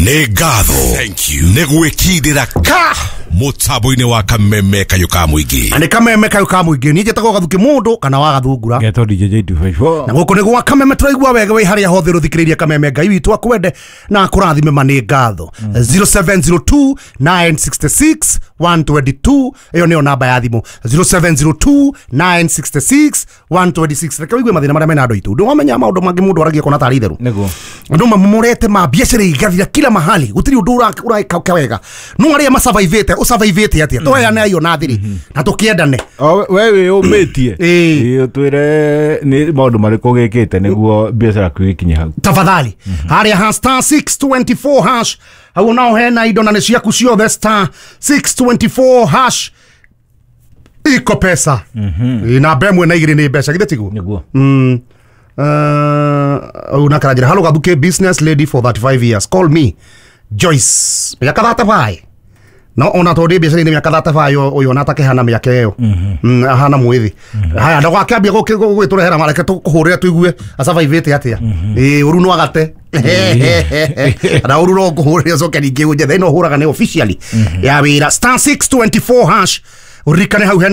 Nĩ ngatho nĩ gwĩkindĩra ka mũtambo-inĩ wa Kameme Kayũ ka Mũingĩ. Na nĩ Kameme Kayũ ka Mũingĩ. Niĩ njĩtagwo Gathuki mũndũ kana wa Gathungura. Ngetwo DJ J254. Na gũkũ nĩ gwa Kameme. Tũraigua wega wĩ harĩa hothe ũthikĩrĩirie Kameme. Ngai witũ akwende na akũrathime. Ma nĩ ngatho. 0702 966 122, ĩyo nĩyo namba ya thimũ, 0702 966 126. Reke ũigue mathĩna marĩa mena andũ aitũ. Ndĩwamenya maũndũ mangĩ mũndũ aragia kona tarĩ itherũ. Nĩguo. Andũ mamomorete ma biacara igathira kila mahali, gũtirĩ ũndũ ũreka wega. No arĩa macavaivĩte, ũcavaivĩte atĩa? Tũheane ayo na thiri na tũkĩendane. O we wĩ ũmĩtie. Ĩĩ. Ĩĩ, ũtwĩre nĩ maũndũ marĩkũ gĩkĩte nĩguo biacara yaku ĩkinye hau. Tafadhali, harĩa ha star 624 hash, hau nao hena indo na nĩ ciaku ciothe. Star 624 hash, iko pesa. Ĩ, namba ĩmwe na igĩrĩ nĩ mbeca, githĩ tiguo? Nĩguo. Una karanjira, "Hello Gathuke, business lady for 35 years, call me Joyce." Mĩaka 35, no ona tondũ ndĩ biacara-inĩ mĩaka 35, ũyũ ona atakĩhana mĩaka ĩyo. Ahana mwĩthĩ. Haya, ndagakĩambia gwĩtũrehera, mareke tũkũhũrĩre tũigue acavaivĩte atĩa. Ĩĩ, ũru no agate na ũru no ngũhũrĩre, ũcoke ningĩ ũnjethe. Ĩno hũraga nĩ officially ya wĩra, star 624 hash. Ũririkane hau hena